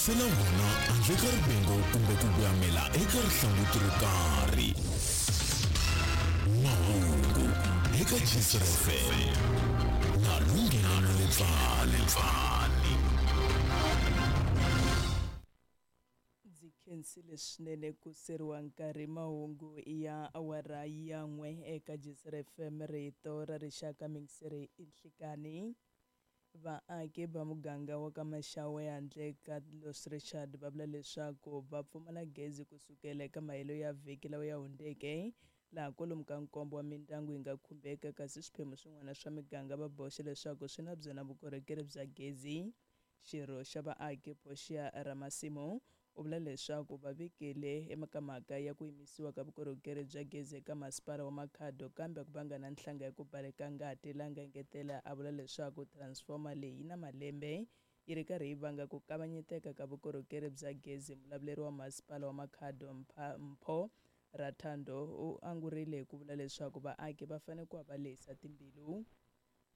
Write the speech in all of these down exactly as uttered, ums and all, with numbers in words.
tisela wona handle ka rivengo kumbe ku voyamela eka rihlanguti ro karhi. Mahungu eka Gistr F M na Lunghelo Letsane. Ndzi khensile swinene ku seriwa nkarhi. Mahungu ya awara ya n'we eka Gistr F M, rito ra rixaka mingiseri i nhlikani. Vaaki va muganga wa ka Maxawe handle ka Los Richard va vula leswaku va pfumala gezi kusukela eka mahelo ya vhiki lawa ya hundzeke, laha kwalomu ka nkombo wa mindyangu yi nga khumbeka, kasi swiphemu swin'wana swa miganga va boxe leswaku swi na byona vukorhokeri bya gezi. Xirho xa vaaki Portia Ramasimu u vula leswaku va vikile eka mhaka ya ku yimisiwa ka vukorhokeri bya gezi eka masipala wa Makhado, kambe ku vanga na nhlanga ya ku baleka ngati, laha nga engetela a vula leswaku transformer leyi yi na malembe yi ri karhi yi vanga ku kavanyeteka ka vukorhokeri bya gezi. Mulavuleri wa masipala wa Makhado Mpho Rathando u angurile hi ku vula leswaku vaaki va fanele ku va va lehisa timbilu.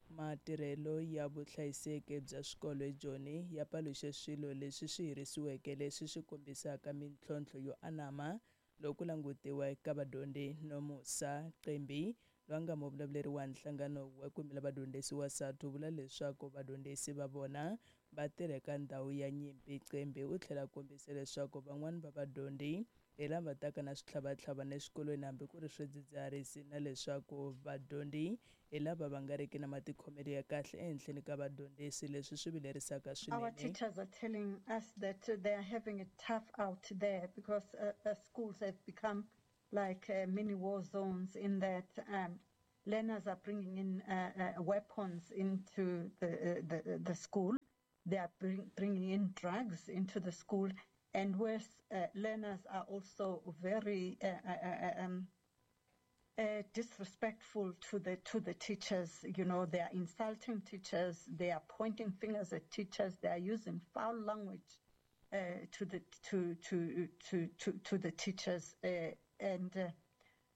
Matirhelo ya vuhlayiseki bya swikolo eJoni ya paluxe swilo leswi swi herisiweke leswi swi kombisaka mintlhontlho yo anama loko ku langutiwa eka vadyondzi. Nomusa Qembi, loyi a nga muvulavuleri wa nhlangano wa ku yimela vadyondzisi wa SADTU, u vula leswaku vadyondzisi va vona va tirha eka ndhawu ya nyimpi. Qembi u tlhela a kombisa leswaku van'wani va vadyondzi hi lava taka na switlhavatlhavana exikolweni hambi ku ri swidzidziharisi, na leswaku vadyondzi hi lava va nga riki na matikhomelo ya kahle ehenhleni ka vadyondzisi, leswi swi vilerisaka swinene. Our teachers are telling us that they are having it tough out there because uh, uh, schools have become like uh, mini war zones, in that um, learners are bringing in uh, uh, weapons into the, uh, the, the school. They are bring, bringing in drugs into the school. And worse, uh, learners are also very uh, uh, um, uh, disrespectful to the to the teachers. You know, they are insulting teachers. They are pointing fingers at teachers. They are using foul language uh, to the to to to to, to the teachers. Uh, and uh,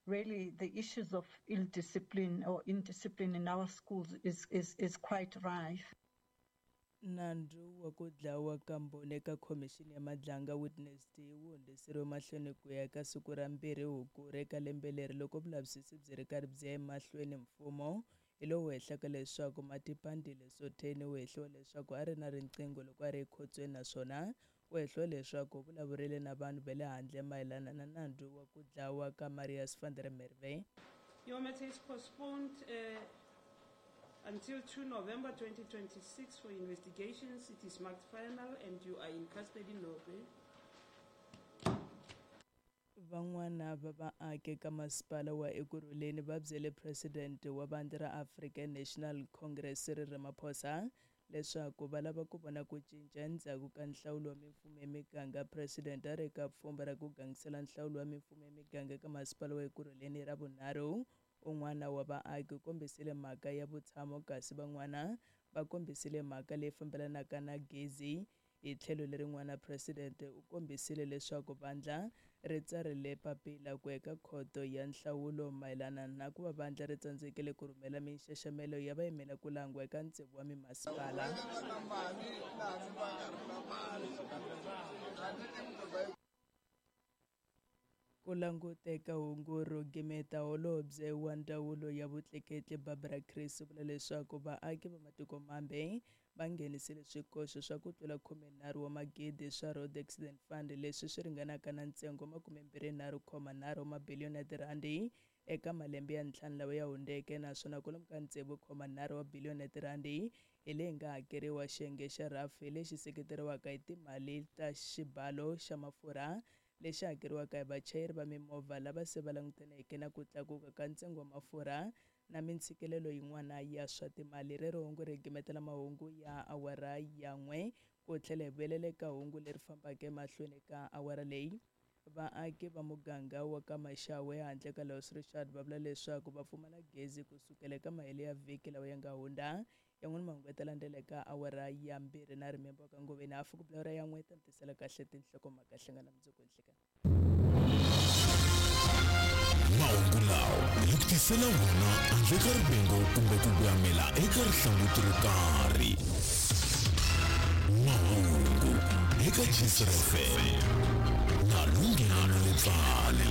really, the issues of ill discipline or indiscipline in our schools is is, is quite rife. Nandzu wa ku dlawa ka mbhoni eka khomixini ya Madlanga Witness D wu hundziseriwe mahlweni ku ya eka siku ra mbirhi Hukuri eka lembe leri, loko vulavisisi byi ri karhi byi ya emahlweni. Mfumo hi lowu hehlaka leswaku Matipandile Sotheni u hehliwa leswaku a ri na riqingho loko a ri ekhotsweni, naswona u hehliwa leswaku u vulavurile na vanhu va le handle mayelana na nandzu wa ku dlawa ka Marius van der Merwe. Your matter is postponed uh, until two November twenty twenty-six for investigations. It is marked final and you are in custody no bail. Van'wana va vaaki ka masipala wa Ekurhuleni va byele president wa vandla ra African National Congress Cyril Ramaphosa leswaku va lava ku vona ku cinca endzhaku ka nhlawulo wa mimfumo ya miganga. President a ri eka pfhumba ra ku gangisela nhlawulo wa mimfumo ya miganga eka masipala wa Ekurhuleni ra vunharhu. Un'wana wa vaaki u kombisile mhaka ya vutshamo, kasi van'wana va kombisile mhaka leyi fambelanaka na gezi. Hi tlhelo lerin'wana, president u kombisile leswaku vandla ri tsarile papila ku eka khoto ya nhlawulo mayelana na ku va vandla ri tsandzekile ku rhumela minxaxamelo ya vayimela ku langwa eka tsevu wa mimasipala. Ku languteka hungu ro gimeta, holobye wa ndzawulo ya vutleketli Barbara Chris u vula leswaku vaaki va matiko mambe va nghenisile swikoxo swa ku tlula khumenharhu wa magidi swa Road Accident Fund, leswi swi ringanaka na ntsengo makumembirhinharhu khoma nharhu wa mabiliyoni ya tirhandi eka malembe ya ntlhanu lawa ya hundzeke, naswona kwalomu ka tsevu khoma nharhu wa biliyoni ya tirhandi hi leyi nga hakeriwa xiyenge xa R A F lexi seketeriwaka hi timali ta xibalo xa mafurha lexi hakeriwaka hi vachayeri va mimovha lava se va langutaneke na ku tlakuka ka ntsengo wa mafurha na mintshikelelo yin'wana ya swa timali. Rero hungu ri gimetela mahungu ya awara ya n'we, ku tlhela hi vuyelela eka hungu leri fambaka emahlweni ka awara leyi. Vaaki va muganga wa ka Maxawe handle ka Los Richard va vula leswaku va pfumala gezi kusukela eka mahelo ya vhiki lawa ya nga hundza. Yan'wana mahungu ya ta landzela eka awara ya mbirhi na rimembo ka ngoveni hafu ku bula ya n'we ta mi tisela kahle tinhlokomhaka. Hlangana mundzuku nhlikani. Mahungu lawa hi ku tisela wona handle ka rivengo kumbe ku voyamela eka rihlanguti ro karhi. Mahungu Eka Jisr F M na Lunghelo Letsane.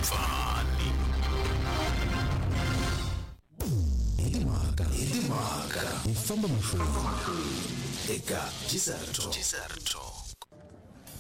Hi timhaka, hi timhaka, hi famba mahlweni eka Jisr Talk.